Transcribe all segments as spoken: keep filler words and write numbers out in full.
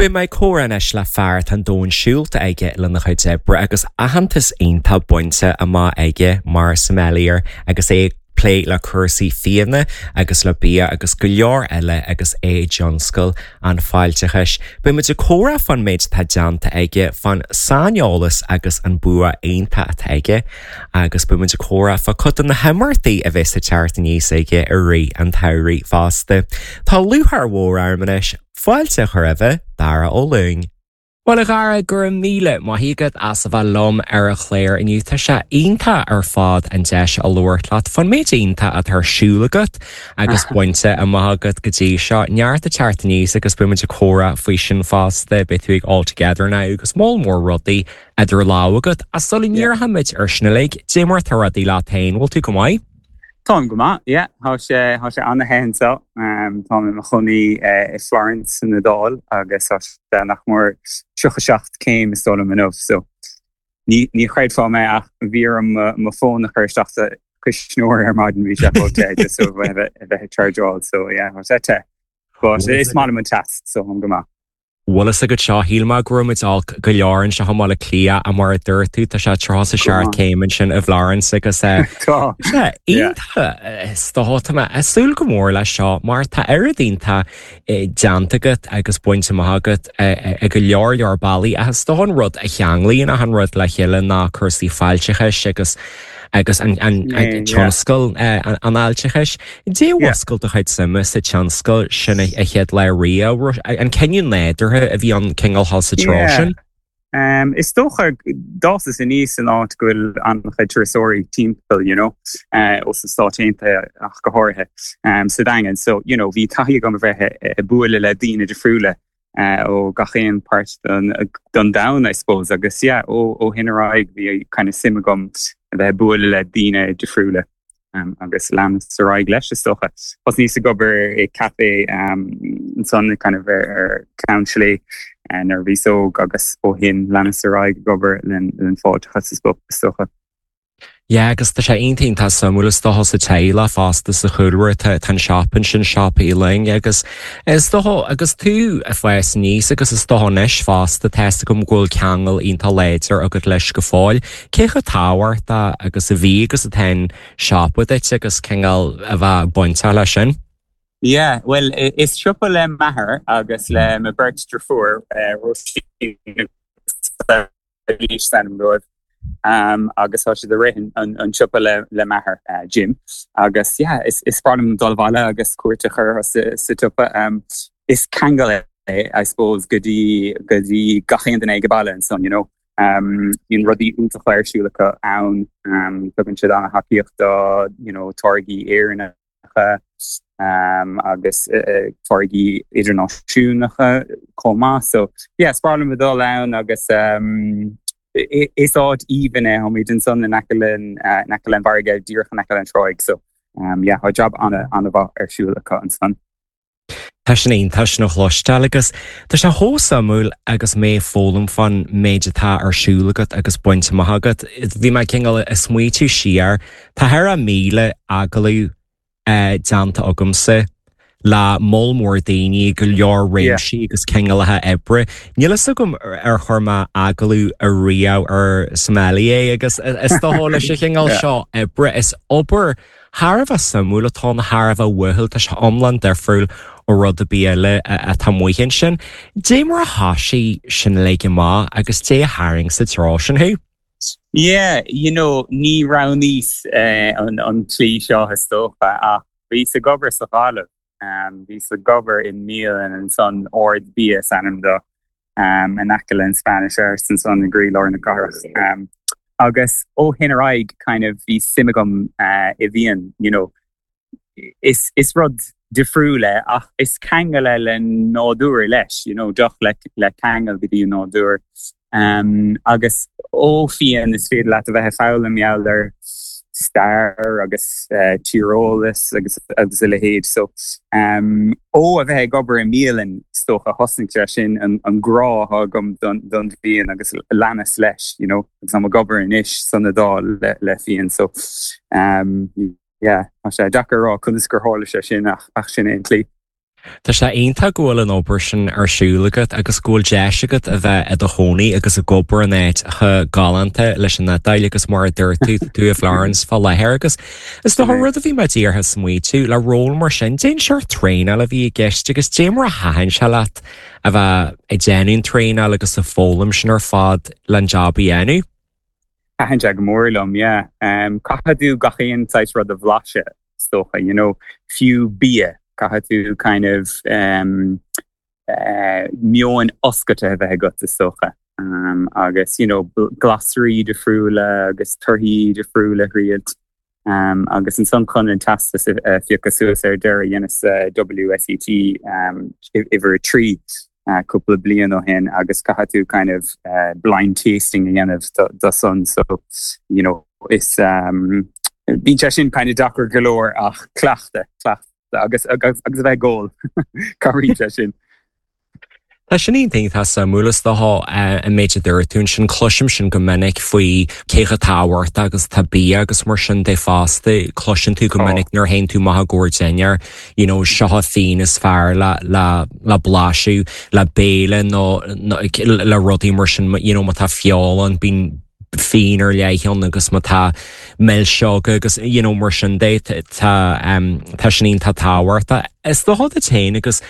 Beidh mé ag comhrá anois le fear atá an domhan siúlta aige lena chuid oibre agus aitheantas iontach bainte amach aige mar sommelier agus é ag plé le cúrsaí fíona agus le bia agus go leor eile agus é i dtionscal an fáilteachais. Beidh muid ag comhrá fán méid atá déanta aige fán saineolas agus an bua iontach atá aige agus beidh muid ag comhrá fá chuid de na himeachtaí a bheas ag teacht aníos aige i rith an tsamhraidh fosta. Tá lúcháir mhór orm anois fáilte a chur roimh Dara Ó Lúing. Well a Dhara go raibh míle maith agat as a bheith liom ar an chlár inniu tá sé iontach ar fad an deis a labhairt leat fán méid iontach atá ar siúl agat agus bainte amach agat go dtí seo neart ag teacht aníos agus beidh muid ag comhrá faoi sin fosta beidh tú ag All Together Now agus moll mór rudaí idir lámha agat a sula ndíreoimid ar sin uilig, cad é mar atá rudaí leat féin, bhfuil tú go maith? Táim go maith, yeah, tá sé tá sé an-te anseo Táim i mo chónaí i Florence san Iodáil agus tá sé nach mór tríocha seacht céim is dóigh liom inniu so ní ní chreidfeá mé ach bhí orm mo fón a chur isteach sa chuisneoir ar maidin bhí sé chomh te just so bheith bheith ag chargeáil so yeah tá sé te. But is maith liom an teas so táim go maith. Bhfuil fhios agat seo shíl mé go raibh muid olc go leor anseo i mBaile Átha Cliath a mar a dúirt tú tá sé tríocha a seacht céim ansin i bhFlorence agus Tá iontach tá mé ag súil go mór leis seo mar tá oiread iontach déanta agat agus bainte amach agat ag go leor leor bealaí agus is dócha an rud a cheanglaíonn achan rud le chéile ná cúrsaí fáilteachais agus agus an tionscal an fháilteachais. Cad é a mhúscail do chuid suime sa tionscal sin a chéad lá riamh an cinneadh nádúrtha a bhí an cineál sa treo sin? Um, is dócha d'fhásas aníos in áit go bhfuil an-chuid turasóirí timpeall you know, uh, ó sna Stáit Aontaithe ach go háirithe um, sa Daingean. So you know, bhí taithí agam a bheith ag bualadh le daoine difriúla uh, ó gach aon páirt don, don domhan I suppose agus yeah, ó ó shin ar aghaidh bhí kind of suim agam a bheith bualadh le daoine difriúla. Um, agus leanas ar aghaidh leis is dócha. Thosnaíos ag obair i café um, ansan kind of ar, ar Ceann Slé uh, nuair a bhíos óg agus ó shin leanas ar aghaidh ag obair len len fáilteachas is dócha. Ja, agus tá sé iontach tá suimiúil is dócha sa teaghlach fosta sa chúlra tá an siopa sin Siopa Uí Fhloinn agus is dócha agus tú ag fás aníos agus is dócha anois fosta tá fhios agam go bhfuil ceangal iontach láidir agat leis go fóill. Cé chomh tábhachtach agus a bhí agus atá an siopa duit agus cineál a bheith bainteach leis sin? Yeah, well is siopa le m'athair agus le mo beirt deirfiúr uh, Róisín san dóibh. Um, agus tá siad ag rith an, an siopa le le m'athair uh, Jim agus yeah, is, is breá liom dul abhaile agus cuairt a chur sa, sa tsiopa um, is ceangal é I suppose go dtí go dtí gach aon duine ag baile ansan you know. Um, bíonn rudaí iontacha ar siúl acu ann um, tugann siad an-tacaíocht do you know, táirgí Éireannacha um, agus uh, táirgí idirnáisiúnta chomh maith so yeah, is breá liom dul ann agus um, is áit aoibhinn é táimid ansan in aice in aice an fharraige díreach in aice an tráigh so um, yeah, tá job an- an-mhaith ar siúl acu ansan. Tá sin iontach sin a chloisteáil agus tá sé chomh suimiúil agus mé ag foghlaim fán méid atá ar siúl agat agus bainte amach agat. Bhí mé cineál ag smaointiú siar Tá thar a míle agallamh uh, déanta agamsa le moll mór daoine go leor réimsí agus cineálacha oibre. Níl fhios agam ar chuir mé agallamh ariamh ar sommelier agus is dócha leis an chineál seo oibre is obair thar a bheith suimiúil atá na thar a bheith uathúil tá sé iomlán difriúil ó rud ar bith eile atá amuigh ansin. Cad é mar a thosaigh sin le amach agus cad é a tharraing sa treo sin thú? Yeah, you know, ní roghnaíos uh, an, an tslí seo is dócha ach bhíos ag obair sa Ghaillimh. Um, bhíos ag obair i mbialann ansan Ard Bia is ainm dó um, in aice an Spanish Arch ansan i gcroílár na cathrach. Um, agus ó shin ar aghaidh kind of bhí suim agam uh, i bhfíon, you know, is, is rud difriúil é ach is ceangal é le nádúr leis, you know, deoch le, le ceangal go dtí an nádúr. Um, agus ó fíon is féidir leat a bheith ag foghlaim ar stair agus uh, tíreolas agus agus a leithéid so um, ó a bheith ag obair i mbialann is dócha thosaigh sé sin an, an grá agam don, don fhíon agus leanas leis you know, agus táim ag obair anois san Iodáil le, le fíon so um, yeah, tá sé deacair rá conas gur tharla sé sin ach, ach sin é an tslí. Tá sé iontach go bhfuil an obair sin ar siúl agat agus go bhfuil deis agat a bheith i do chónaí agus ag obair in áit chomh galánta leis an Iodáil agus mar a dúirt tú tú i Florence fá láthair agus is dócha rud a bhí mé díreach ag smaoitiú le ról mar sin cén seort traenáil a bhí i gceist agus cad é mar a thaitin sé leat a bheith ag déanamh traenáil agus ag foghlaim sin ar fad le an job a dhéanamh. Thaitin sé go mór liom, yeah. Um, caithfidh tú gach aon saghas rud a bhlaiseadh is dócha, you know, fiú bia caithfidh tú kind of um, uh, meon oscailte a bheith agat is dócha. Um, agus you know, glasraí difriúla agus torthaí difriúla thriail. Um, agus ansan chun an teastas uh, phiocadh suas ar deireadh dheineas uh, WSET um, uimhir trí uh, cúpla bliain ó shin agus caithfidh tú kind of uh, blind tasting a dhéanamh do san so you know is um, bíonn sé sin kind of deacair go leor ach cleachtadh cleachtadh agus agus agus a bheith ag ól cabhraíonn sé sin. Tá sin iontach suimiúil is dócha an méid a dúirt tú sin cloisim sin go minic faoi cé chomh tábhachtach agus tá bia agus mar sin de fosta cloiseann tú go minic nuair a théann tú amach i gcomhair dinnéar you know, seo fíon is fearr le le le blaiseadh le béile nó le rudaí mar sin you know, má tá feoil ann bíonn fíon ar leith ann agus má tá milseoga agus you know, mar sin de tá um, tá sin iontach tábhachtach. Is dócha duit féin agus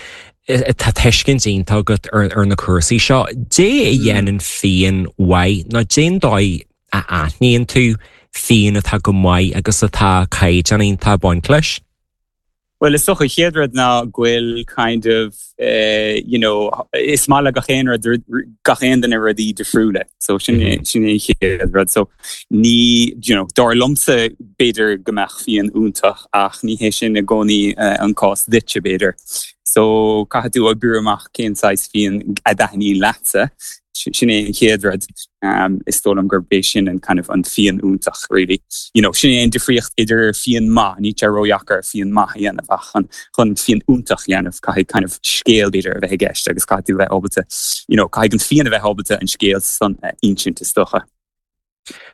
tá tuiscint iontach agat ar, ar na cúrsaí seo, Cad é a dhéanann fíon mhaith nó cén dóigh a aithníonn tú fíon atá go maith agus atá caighdeán iontach baint leis? Well is dócha chéad rud ná go bhfuil kind of uh, you know, is maith le gach aon rud gach aon duine rudaí difriúla so sin mm -hmm. sin é chéad rud so ní you know, dar liomsa b'fhéidir go mbeadh fíon iontach ach ní hé sin i gcónaí uh, an cás duitse b'fhéidir. So caithfidh tú oibriú amach cén saghas fíon a thaitníonn leatsa sin é an chéad rud um, is dóigh liom gurb é sin an kind of an fíon iontach really. You know, sin é an difríocht idir fíon maith ní tá ródheacair fíon maith a dhéanamh ach chun chun fíon iontach a dhéanamh caithfidh kind of scéal b'fhéidir a bheith i gceist agus caithfidh tú bheith ábalta you know, caithfidh an fíon a bheith ábalta an scéal san uh, insint is dócha.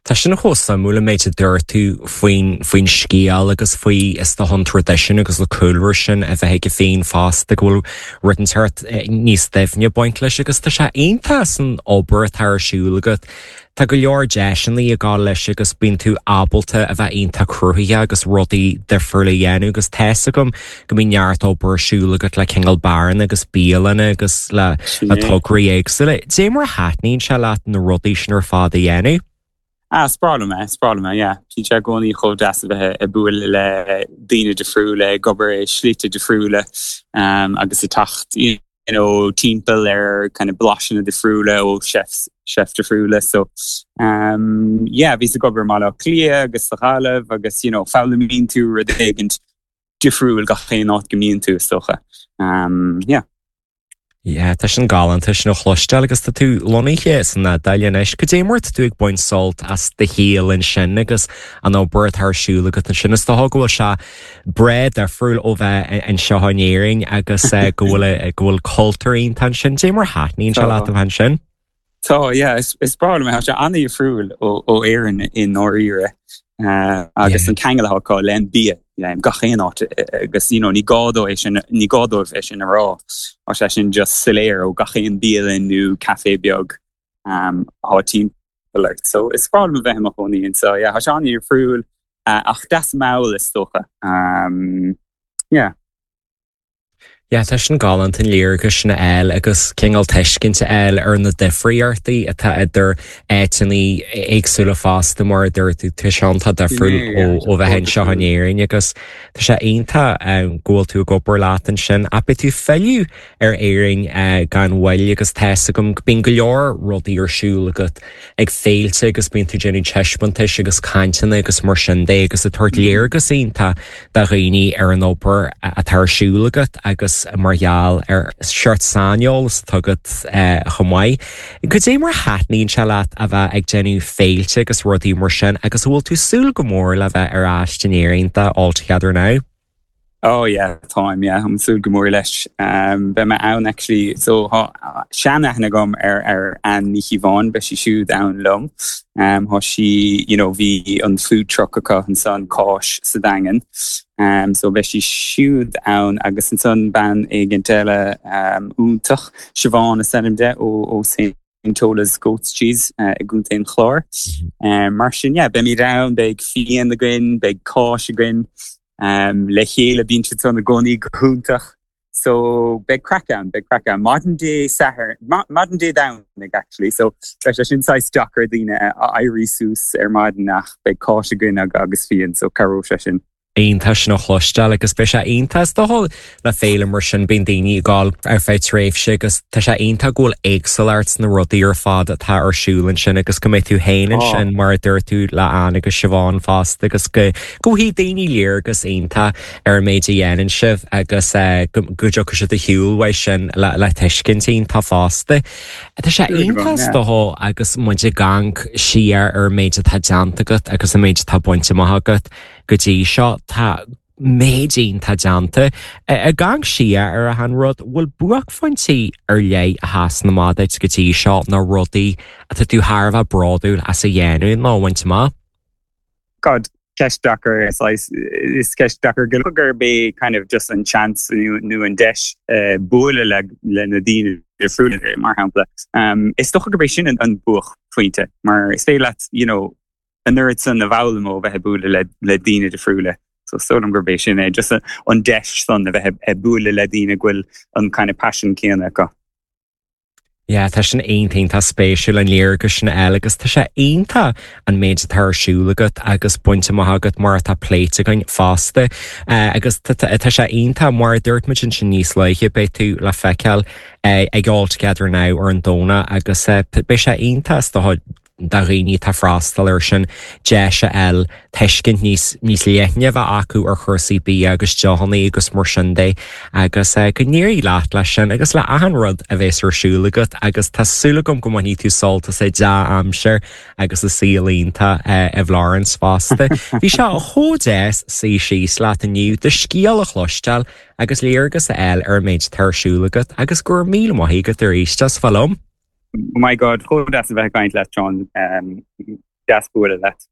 Tá sin chomh suimiúil an méid a dúirt tú faoin faoin scéal agus faoi is dócha an traidisiún agus le cúlra sin a bheith aige féin fosta go bhfuil rud inteacht níos doimhne baint leis agus tá sé iontach san obair atá ar siúl agat. Tá go leor deiseanna ag gabháil leis agus bíonn tú ábalta a bheith iontach cruthaitheach agus rudaí difriúla a dhéanamh agus tá a fhios agam go mbíonn neart obair ar siúl agat le cineál beáranna agus bialanna agus le le tograí éagsúla. Cad é mar a thaitníonn sé leat na rudaí sin ar fad a dhéanamh? Ah, sprála me sprála me, yeah. Bhí sé i gcónaí chomh deas a bheith ag bualadh le daoine difriúla ag obair i slite difriúla um, agus ag teacht you know, timpeall ar kind of blaiseanna difriúla ó chefs chef difriúla so um, yeah, bhíos ag obair i mBaile Átha Cliath agus sa Ghaillimh agus you know, foghlaimíonn tú rud éigin difriúil gach aon áit go mbíonn tú is dócha. Um, yeah. Yeah, tá sin galánta sin a chloisteáil agus tá tú lonnaithe san Iodáil anois. Cad é mar atá tú ag baint sult as do shaol ansin agus an obair atá ar siúl agat ansin is dócha go bhfuil sé breá difriúil ó bheith anseo in Éirinn agus go bhfuil go bhfuil cultúr iontach ansin cad é mar a thaitníonn sé leat a bheith ansin. Tá yeah, is, is breá liom sé an-difriúil ó ó Éirinn i ndáiríre uh, agus an ceangal acu le bia yeah, gach aon áit agus you know, ní gá dó é sin ní gá dóibh é sin a rá Tá sé sin just soiléir ó gach aon bialann nó café beag um, atá timpeall ort. So is breá liom bheith i mo chónaí so yeah, tá sé an-difriúil uh, ach deas mall is dócha. Um, yeah. Ja tá sin galánta an léargas sin a fháil agus cineál tuiscint a fháil ar na difríochtaí atá idir áiteanna éagsúla fosta mar dúirt tú tá sé iontach difriúil ó bheith anseo in Éirinn agus tá sé iontach go bhfuil tú ag obair leat ansin ach beidh tú ag filleadh ar Éirinn gan mhoill agus tá a fhios agam bíonn go leor rudaí ar siúl agat ag féilte agus bíonn tú ag déanamh taispeántais agus cainteanna agus mar sin de agus ag tabhairt léargas iontach do dhaoine ar an obair atá ar siúl agat agus mar gheall ar seort saineolas atá agat chomh maith. Cad é mar a thaitníonn sé leat a bheith ag déanamh féilte agus rudaí mar sin agus bhfuil tú ag súil go mór le bheith ar ais in Éirinn do All Together Now? Oh yeah, táim yeah, ag súil go mór leis. Um, Beidh mé ann actually so seanaithne agam ar ar an Ní Bháin beidh sí siúd ann liom. Um, Tá sí you know, bhí an food truck acu ansan Cáis sa Daingean. Um, so beidh sí siúd ann agus ansan bean éigin eile um, iontach Siobhán is ainm di ó ó St. Tola's Goat's Cheese uh, i gContae an Chláir. Mm -hmm. um, mar sin yeah, beimid ann beidh fíon againn, beidh cáis againn, um, le chéile bíonn siad san i gcónaí go hiontach. So beidh craic ann, beidh craic ann. Maidin Dé Sathairn maidin Dé Domhnaigh actually, so beidh sé sin saghas deacair daoine a éirí suas ar maidin ach beidh cáis againn agus fíon, so cabhróidh sé sin. Iontach sin a chloisteáil agus beidh sé iontach dul le féile mar sin bíonn daoine ag dul ar feadh tréimhse agus tá sé iontach go bhfuil éagsúlacht na rudaí ar fad atá ar siúl ansin agus go mbeidh tú féin ansin mar a dúirt tú le Ann agus Siobhán fosta agus go go bhfaighidh daoine léargas iontach ar an méid a dhéanann sibh agus go dtiocfaidh siad a shiúl uaidh sin le le tuiscint iontach fosta. Tá sé iontach dó agus muid ag amharc siar ar an méid atá déanta agat agus an méid atá bainte amach agat go dtí seo tá méid iontach déanta ag amharc siar ar an rud bhfuil buaicphointí ar leith a sheasann amach duit go dtí seo na rudaí atá tú thar a bheith bródúil as a dhéanamh nó bhaint amach? God ceist deacair is is ceist deacair go gurb é kind of just an chance nó an deis uh, bualadh le le na daoine difriúla mar shampla. Um, is dócha gurb é sin an, an buaicphointe mar is féidir leat you know, an oiread san a fhoghlaim ó bheith bualadh le, le daoine difriúla. So so gurb é sin é just an deis san a bheith bualadh le daoine go bhfuil an kind of passion céanna acu. Ja, tá sin iontach spéisiúil an léargas sin eile agus tá sé iontach an méid atá ar siúl agat agus bainte amach agat mar atá pléite againn fosta agus tá sé iontach mar dúirt muid sin níos luaithe beidh tú le feiceáil ag All Together Now ar an Domhnach agus beidh sé iontach do do dhaoine atá freastal ar sin deis a fháil tuiscint níos níos leithne bheith acu ar chúrsaí bia agus deochanna agus mar sin de agus go n-éirí leat leis sin agus le achan rud a bheas ar siúl agat agus tá súil agam go mbainfidh tú sult as dea-aimsir agus an saol iontach i bhFlorence fosta. Bhí sé chomh deas suí síos leat inniu do scéal a chloisteáil agus léargas a fháil ar an méid atá ar siúl agat agus go raibh míle maith agat arís as bheith liom. Oh my God, chomh deas a bheith ag caint leat John um, deas bualadh leat.